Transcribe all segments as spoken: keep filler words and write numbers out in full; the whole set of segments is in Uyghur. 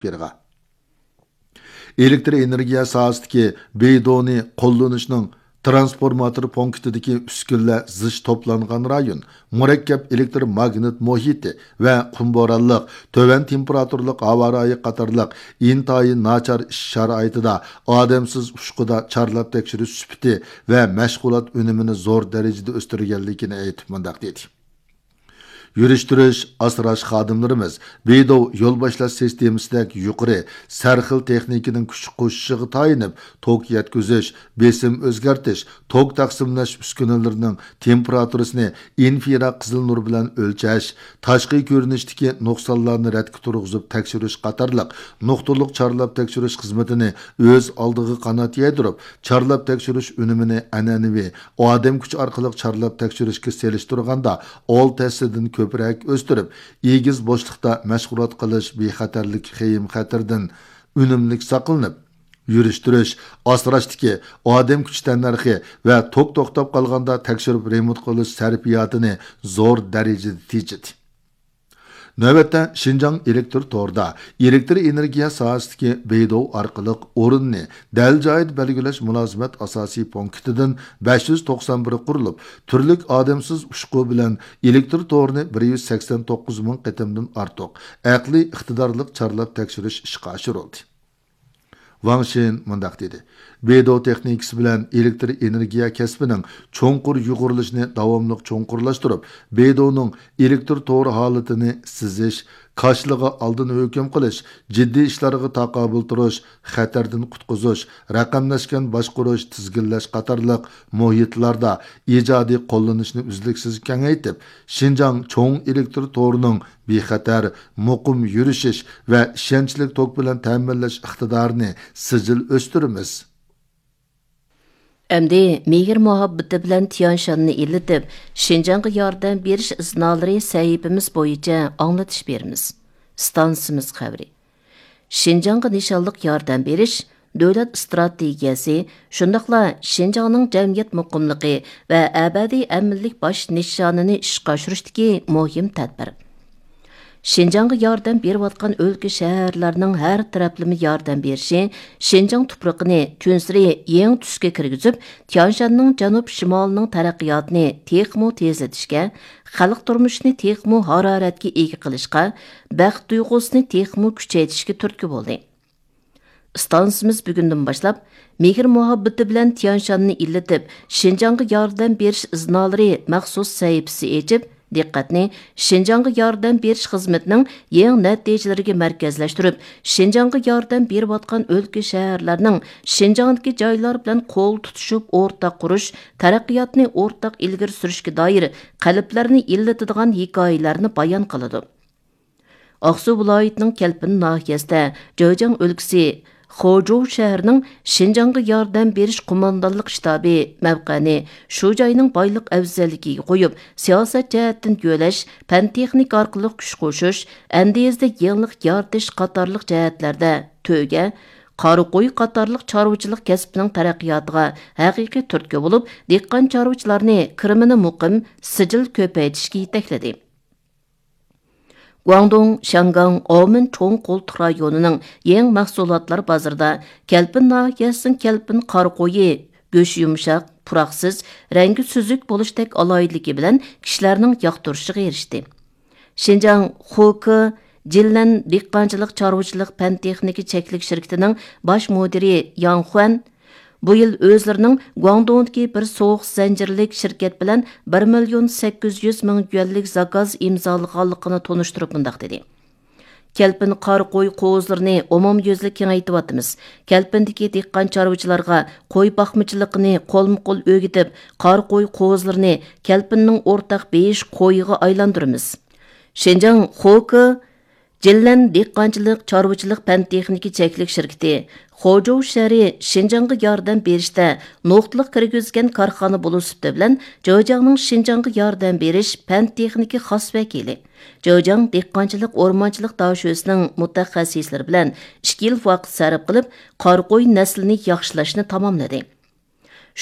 بېرىغا. ئېلېكتر ئېنېرگىيە ساھەسىدىكى بېيدونى قوللىنىشنىڭ تىرانسفورماتور پونكىتىدىكى ئۈسكۈنىلەر زىچ توپلانغان رايون، مۇرەككەپ ئېلېكتر ماگنىت مۇھىتى ۋە قۇم بورانلىق، تۆۋەن تېمپېراتۇرىلىق ھاۋا رايى قاتارلىق ئىنتايىن ناچار ئىش شارائىتىدا ئادەمسىز ئۇچقۇدا چارلاپ تەكشۈرۈش سۈپىتى ۋە مەشغۇلات ئۈنۈمىنى زور دەرىجىدە ئۆستۈرگەنلىكىنى ئېيتىپ مۇنداق دېدى. يۈرۈشتۈرۈش، ئاسراش خادىملىرىمىز بېيدوۋ يول باشلاش سىستېمىسىدەك يۇقىرى سەرخىل تېخنىكىنىڭ كۈچ قوشۇشىغا تايىنىپ، توك يەتكۈزۈش، بېسىم ئۆزگەرتىش، توك تەقسىملەش ئۈسكۈنىلىرىنىڭ تېمپېراتۇرىسىنى ئىنفرا قىزىل نۇر بىلەن ئۆلچەش، تاشقى كۆرۈنۈشتىكى نۇقسانلارنى رەتكە تۇرغۇزۇپ تەكشۈرۈش قاتارلىق نۇقتىلىق چارلاپ تەكشۈرۈش خىزمىتىنى ئۆز ئالدىغا قانات يايدۇرۇپ، چارلاپ تەكشۈرۈش ئۈنۈمىنى ئەنئەنىۋى ئادەم كۈچى ئارقىلىق چارلاپ تەكشۈرۈشكە سېلىشتۇرغاندا ئالتە ھەسسىدىن كۆپرەك ئۆستۈرۈپ، ئېگىز بوشلۇقتا مەشغۇلات قىلىش بىخەتەرلىك خېيىم-خەتىرىدىن ئۈنۈملۈك ساقلىنىپ، يۈرۈشتۈرۈش، ئاسراشتىكى ئادەم كۈچى تەننەرخى ۋە توك توختاپ قالغاندا تەكشۈرۈپ رېمونت قىلىش سەرپىياتىنى زور دەرىجىدە تېجىدى. نۆۋەتتە شىنجاڭ ئېلېكتر تورىدا ئېلېكتر ئېنېرگىيە ساھەسىدىكى بېيدوۋ ئارقىلىق ئورۇننى دەل جايىدا بەلگىلەش مۇلازىمەت ئاساسىي پونكىتىدىن بەش يۈز توقسان بىرى قۇرۇلۇپ، تۈرلۈك ئادەمسىز ئۇچقۇ بىلەن ئېلېكتر تورىنى بىر يۈز سەكسەن توققۇز مىڭ قېتىمدىن ئارتۇق ئەقلىي ئىقتىدارلىق چارلاپ تەكشۈرۈش ئىشقا ئاشۇرۇلدى. ۋاڭ شىن مۇنداق دېدى: بېيدوۋ تېخنىكىسى بىلەن ئېلېكتر ئېنېرگىيە كەسپىنىڭ چوڭقۇر يۇغۇرۇلۇشىنى داۋاملىق چوڭقۇرلاشتۇرۇپ، بېيدوۋنىڭ ئېلېكتر تورى ھالىتىنى سىزىش، كاشىلىغا ئالدىن ھۆكۈم قىلىش، جىددىي ئىشلارغا تاقابىل تۇرۇش، خەتەردىن قۇتقۇزۇش، رەقەملەشكەن باشقۇرۇش، تىزگىنلەش قاتارلىق مۇھىتلاردا ئىجادىي قوللىنىشنى ئۈزلۈكسىز كېڭەيتىپ، شىنجاڭ چوڭ ئېلېكتر تورىنىڭ بىخەتەر، مۇقىم يۈرۈشۈش ۋە ئىشەنچلىك توك بىلەن تەمىنلەش ئىقتىدارىنى سىجىل ئۆستۈرىمىز. ئەمدى مېھىر مۇھەببىتى بىلەن تيانشاننى ئىللىتىپ، شىنجاڭغا ياردەم بېرىش ئىزنالىرى سەھىپىمىز بويىچە ئاڭلىتىش بېرىمىز. ئىستانسىمىز خەۋىرى. شىنجاڭغا نىشانلىق ياردەم بېرىش دۆلەت ئىستراتېگىيەسى، شۇنداقلا شىنجاڭنىڭ جەمئىيەت مۇقىملىقى ۋە ئەبەدىي ئەمىنلىك باش نىشانىنى ئىشقا ئاشۇرۇشتىكى مۇھىم تەدبىر. شىنجاڭغا ياردەم بېرىۋاتقان ئۆلكە، شەھەرلەرنىڭ ھەر تەرەپلىمە ياردەم بېرىشى شىنجاڭ تۇپرىقىنى كۈنسېرى يېڭى تۈسكە كىرگۈزۈپ، تيانشاننىڭ جەنۇب شىمالىنىڭ تەرەققىياتىنى تېخىمۇ تېزلىتىشكە، خەلق تۇرمۇشىنى تېخىمۇ ھارارەتكە ئىگە قىلىشقا، بەخت تۇيغۇسىنى تېخىمۇ كۈچەيتىشكە تۈرتكە بولدى. ئىستانسىمىز بۈگۈندىن باشلاپ، مېھىر مۇھەببىتى بىلەن تيانشاننى ئىللىتىپ، شىنجاڭغا ياردەم بېرىش ئىزنالىرى مەخسۇس سەھىپىسى ئېچىپ، دىققەتنى شىنجاڭغا ياردەم بېرىش خىزمىتىنىڭ يېڭى نەتىجىلىرىگە مەركەزلەشتۈرۈپ، شىنجاڭغا ياردەم بېرىۋاتقان ئۆلكە، شەھەرلەرنىڭ شىنجاڭدىكى جايلار بىلەن قول تۇتۇشۇپ ئورتاق قۇرۇش، تەرەققىياتنى ئورتاق ئىلگىرى سۈرۈشكە دائىر قەلبلەرنى ئىللىتىدىغان ھېكايىلەرنى بايان قىلىدۇ. ئاقسۇ ۋىلايىتىنىڭ كەلپىن ناھىيەسىدە جېجياڭ ئۆلكىسى خۇجۇ شەھىرىنىڭ شىنجاڭغا ياردەم بېرىش قوماندانلىق شتابى مەۋقەنى شۇ جاينىڭ بايلىق ئەۋزەللىكىگە قويۇپ، سىياسەت جەھەتتىن يۆلەش، پەن-تېخنىكا ئارقىلىق كۈچ قوشۇش، ئەندىزىدە يېڭىلىق يارىتىش قاتارلىق جەھەتلەردە تۆگە، قارا قوي قاتارلىق چارۋىچىلىق كەسپىنىڭ تەرەققىياتىغا ھەقىقىي تۈرتكە بولۇپ، دېھقان چارۋىچىلارنى كىرىمىنى مۇقىم، سىجىل كۆپەيتىشكە يېتەكلىدى. گۇاڭدۇڭ، شياڭگاڭ، ئاۋمېن چوڭ قولتۇق رايونىنىڭ يېڭى مەھسۇلاتلار بازىرىدا كەلپىن ناھىيەسىنىڭ كەلپىن قارا قويى، گۆشى يۇمشاق، پۇراقسىز، رەڭگى سۈزۈك بولۇشتەك ئالاھىدىلىكى بىلەن كىشىلەرنىڭ ياقتۇرۇشىغا ئېرىشتى. شىنجاڭ خۇكې جىنلەن دېھقانچىلىق چارۋىچىلىق پەن تېخنىكا چەكلىك شىركىتىنىڭ باش مۇدىرى ياڭ خۇەن بۇ يىل ئۆزلىرىنىڭ گۇاڭدۇڭدىكى بىر سوغۇق زەنجىرلىك شىركەت بىلەن بىر مىليون سەككىز يۈز مىڭ يۈەنلىك زاكاز ئىمزالىغانلىقىنى تونۇشتۇرۇپ مۇنداق دېدى: كەلپىن قارا قوي قوزىلىرىنى ئومۇميۈزلۈك كېڭەيتىۋاتىمىز. كەلپىندىكى دېھقان چارۋىچىلارغا قوي باقمىچىلىقىنى قولمۇ قول ئۆگىتىپ، قارا قوي قوزىلىرىنى كەلپىننىڭ ئورتاق بېيىش قويىغا ئايلاندۇرىمىز. شىنجاڭ خۇكې جىنلەن دېھقانچىلىق چارۋىچىلىق پەن تېخنىكا چەكلىك شىركىتى خۇجۇ شەھىرى شىنجاڭغا ياردەم بېرىشتە نۇقتىلىق كىرگۈزگەن كارخانا بولۇش سۈپىتى بىلەن، جېجياڭنىڭ شىنجاڭغا ياردەم بېرىش پەن تېخنىكا خاس ۋەكىلى، جېجياڭ دېھقانچىلىق ئورمانچىلىق داشۆسىنىڭ مۇتەخەسسىسلىرى بىلەن ئىككى يىل ۋاقىت سەرپ قىلىپ، قارا قوي نەسلىنى ياخشىلاشنى تاماملىدى.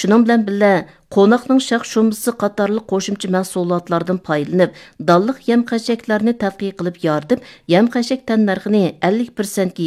شۇنىڭ بىلەن بىللە، قوناقنىڭ شاخ-شۇمبىسى قاتارلىق قوشۇمچە مەھسۇلاتلاردىن پايدىلىنىپ، دانلىق يەم-خەشەكلەرنى تەتقىق قىلىپ يارىتىپ، يەم-خەشەك تەننەرخىنى ئەللىك پىرسەنتكە